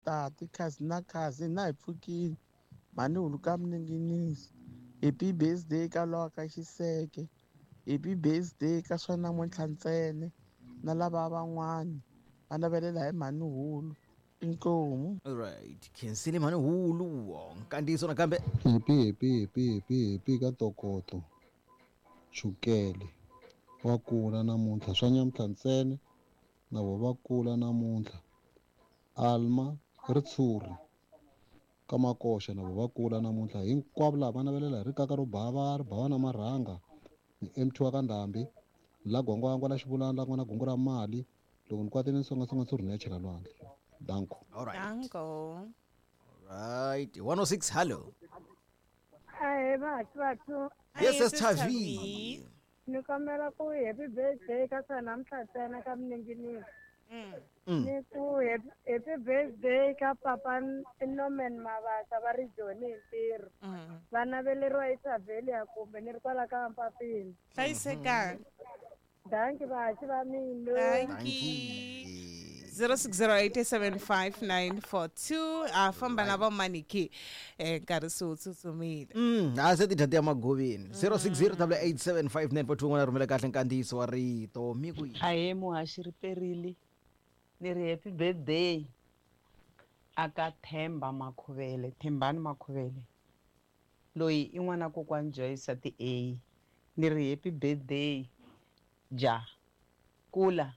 tati khazi na khazi na hi pfukile mhani hulu ka Mninginisi. Happy birthday ka lowa ka Xiseke. Happy birthday ka swa namuntlha ntsena na lava van'wani va navelela hi mhani hulu. Inkomu. Alright, khensile mhani hulu. Nkandziyiso nakambe. Happy happy happy happy happy ka Tokoto Chukele wa kula namuntlha swa nyamuntlha ntsena na vo va kula namuntlha. Alma Ritshuri ka Makoxa na vo va kula namuntlha. Hinkwavo lava va navelela hi rikaka ro bava ri bava na marhanga ni MT wa ka Ndhambi la gwangwangwa la xivulana la n'wana gungu ra mali loko ni kwatile ni songasonga ntshuri ni ya chela lwandle. Danko. Alright. Danko. Alright, 106 hello. Ahee vathu vathu. Yes, yes, Tavi. Ni kombela ku happy birthday ka swa namuntlha ntsena ka Mninginisi. Ni ku happy birthday ka papa Norman Mabasa va ri Joni hi ntirho. Va naveleriwa hi Savelia kumbe ni ri kwala ka Mpapini. Hlayisekani. Danki vahaxi va mina. Danki. 06087594 a famba na vamaniki nkarhi se wu tsutsumile. A se ti dya ti ya magoveni. 0608875942 n'wana rhumela kahle nkandziyiso wa rito mi ku Ahee muhaxi ri perile ni ri happy birthday aka Themba Makhuvele, Thembani Makhuvele loyi i n'wana kokwani Joyce ti A ni ri happy birthday ja kula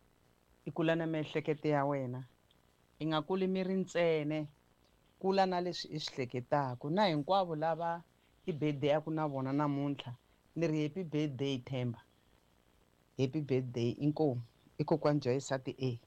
i kula na miehleketo ya wena i nga kuli miri ntsene kula na leswi i swi hleketaka na hinkwavo lava i birthday ya ku na vona namuntlha ni ri happy birthday Themba, happy birthday inkomu i kokwani Joyce ti A.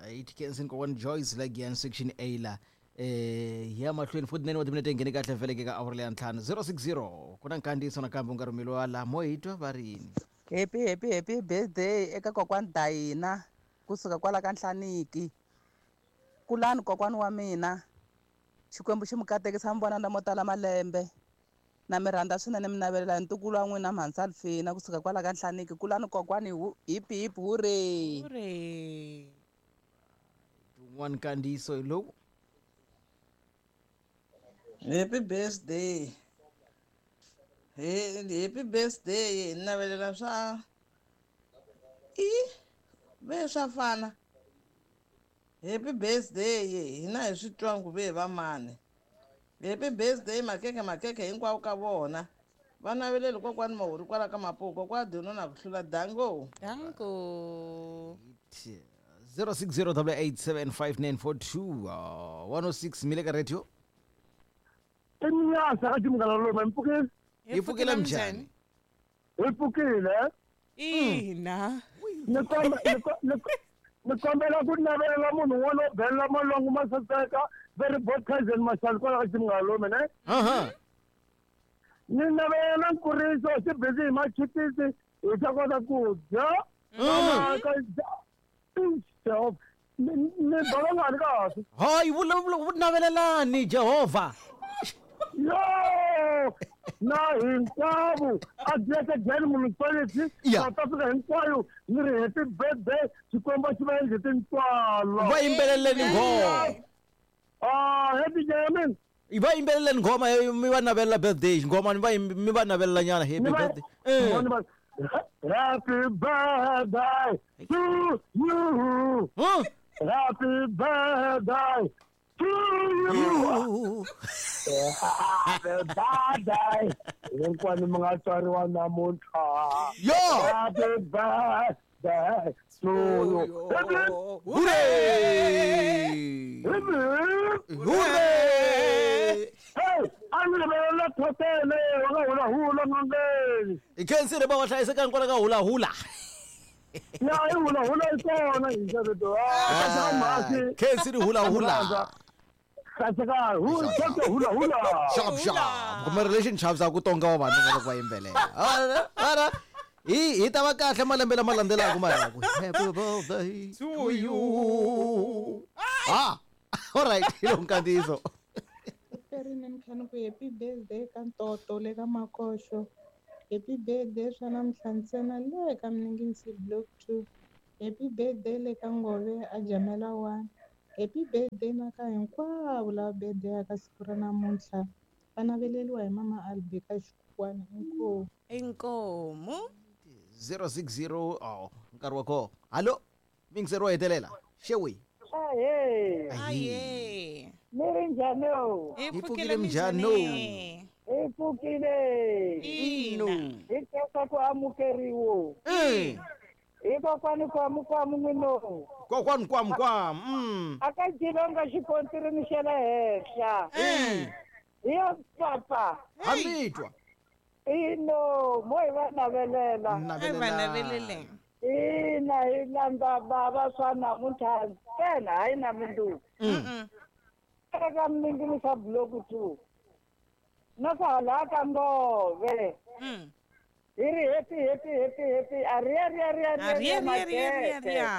Right, Kensin kokwani Joyce la Giyani section A la ya mahlweni 49 wa timinete nghene kahle vhele ka awara leya ntlhanu 060 ku na nkandziyiso nakambe u nga rhumeliwa laha mo hi twa va ri yini. Happy happy happy birthday eka kokwani Dayina kusuka kwala ka Nhlaniki. Kulani kokwani wa mina Xikwembu xi mi katekisa mi vona lamo tala malembe na mi rhandza swinene mi navelela ntukulu wa n'wina Mhansa Alfina kusuka kwala ka Nhlaniki. Kulani kokwani hip hip hooray. Hooray. Un'wana nkandziyiso hi lowu. Happy birthday. Hey, happy birthday hi navelela swa i ve swa fana. Happy birthday hina hi swi twa ku ve va mani. Happy birthday makeke makeke hinkwavo ka vona. Va naveleli kokwani Mahuri kwala ka Mapuku kokwani Dino na ku hlula dango. Dango. 0608875942 106 mi le ka radio. Inyasa ka Munghana Lonene, mi pfukile? Hi pfukile njhani? Hi pfukile. Ina. Ni kombela ku navelela munhu un'wana wo belela malwangu ma saseka very both cousin Mashali kwala ka Munghana Lonene ne? Ni navelela nkuriso xi busy hi machipisi hi ta kota ku dya. Ni bala ngani kahle? Hayi navelelani Jehovha. Yo! Na hinkwavo a dyeke municipality South Africa hinkwayo ni ri happy birthday Xikwembu xi va endle tintswalo. Va yimbeleleni nghoma. Happy German. Va yimbeleleni nghoma mi va navelela birthday nghoma mi va navelela nyana happy birthday. Happy birthday to you. Happy birthday to you. Happy birthday. Hinkwanu mi nga tswariwa namuntlha. Yo! Happy birthday to you. Hooray! Hooray! Hey, a ni rivelela thotele wa ka hula hula n'angeni. Hi khensile va hlayisekani kwala ka hula hula. Ya i hula hula yi kona hi xaveto. Khensile hula hula. Hula hula. Sharp sharp. Kuma relationships a ku tonga wa vanhu loko va yimbelela. Ara hi ta va kahle malembe lama landzelaka mara ku happy birthday to you. All right, hi lo nkandziyiso. Happy birthday ka Ntoto le ka Makoxo. Happy birthday swa namuntlha ntsena le ka Mninginisi block 2. Happy birthday le ka Ngove a Jamela 1. Happy birthday na ka hinkwavo lava birthday-aka siku ra namuntlha. Va naveleriwa hi mama Albika Xikwana. Inkomu. Inkomu. 060 oh nkarhi wa koho. Hallo, mingiseri wo hetelela. Xewi. Ahee. Aye. Mi ri njhani? Hi Hi pfukile pfukile minjhani? minjhani? Hi pfukile. Ina. Hi khensa ku amukeriwa. Eh. Hi kokwani kwamu kwamu n'wino. Kokwani kwam kwam. A ka Jilonga xikontirini xa le henhla. Eh. Hi yo papa. Hamitwa. Ino, mo hi va navelela. Ai va naveleleng. Ina hi landza bava swa namuntlha ntsena hayi na mundzuku. Eka miningini swa block 2. Na swa hala ka Ngove. Hi ri happy happy happy happy aria ria ria ria Aria ria ria ria ria.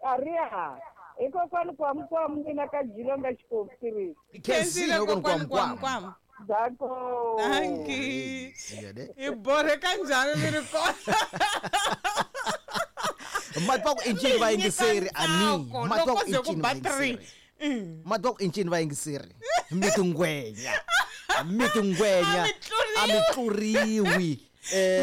Aria. Hi kokwani kwamu kwamu n'wina ka Jilonga xikontiri. Khensile kokwani kwam kwam. Dako. Dankie. Hi borheka njhani mi ri kona? Matwa ku incini va yingiseri ani. Ntsako, Matwa loko ku ze ku incini ba va three. yingiseri. Matwa ku incini va yingiseri. Mi tingwenya. Mi tingwenya. A A mi mi tluriwi.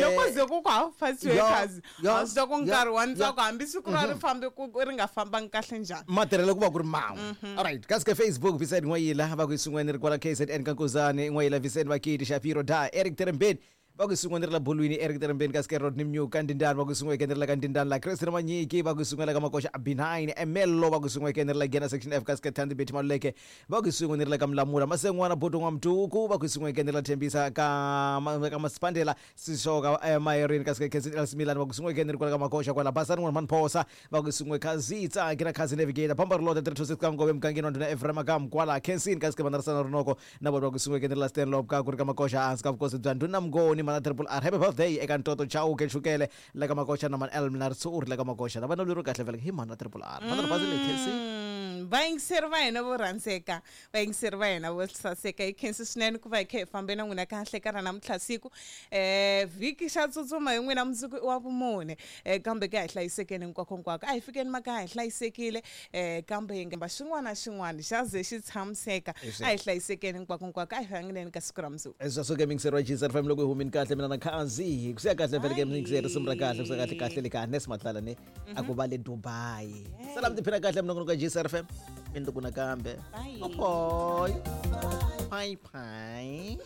Loko ze ku ku half past yo, workers yo, a swi ta ku yo, nkarhi wa yo. ntsako hambi siku ra ri fambe ku ri nga fambangi kahle njhani. Matirhelo ku va ku ri man'we. Alright, kasi ka Facebook Vincent N'wayila va ku isun'weni ri kwala KZN ka Nkuzani N'wayila Vincent Vakiti Shapiro da Eric Terembeni va ku isun'weni ri la Bolweni Eric Terembeni kasi ke Rodney Mnyuka Ndindani va ku isun'we ri la ka Ndindani la Christine Manyiki va ku isun'we la ka Makoxa B9 Emello va ku isun'we ri la Gena section F kasi ke Thandi Betty Maluleke va ku isun'we ri la ka Mlamula Masengwana Bodo N'wamduku va ku isun'we ri la Thembisa ka ka Masipandela Sishoka Mayerini kasi ke Khensi El Smilani va ku isun'we ri kwala ka Makoxa kwala Basani N'wana Manphosa va ku isun'we Khazitsa ke na Khazi Navigator Pamba Rilota 326 ka Ngove mugangeni wa ndhuna Ephraim ka Mkwala Khensin kasi ke Manarasana Rinoko na vona va ku isun'we ri la Stanley ka ku ri ka Makoxa hansi ka vukosi bya ndhuna Mngoni mana Triple R happy birthday eka Ntoto Chauke Chukele la ka Makoxa na Man El na Ritsuri la ka Makoxa na vana lero kahle vele hi mana Triple R mana Basile Khensin. Vayingiseri va hina vo rhandzeka, vayingiseri va hina vo saseka, hi khensi swinene ku va hi kha hi fambe na n'wina kahle ka ra namuntlha siku. Vhiki xa tsutsuma hi n'wina mundzuku i wa vumune. Kambe ke a hi hlayisekeni hinkwako hinkwako, a hi fikeni makaya hi hlayisekile. Kambe hi nga xin'wana na xin'wana xa ze xi tshamiseka. A hi hlayisekeni hinkwako hinkwako, a hi hlanganeni ka siku ra mundzuku. Swa suka mingiseri wa GCR FM loko hi humini kahle mina na Khazi ku siya kahle vele ke mingiseri risimu ra kahle ku siya kahle kahle le ka Nes Matlala ne a ku va le Dubai. Salam tiphina kahle minongonoko ya GCR FM mindzuku nakambe. Bye. Bye. Bye bye.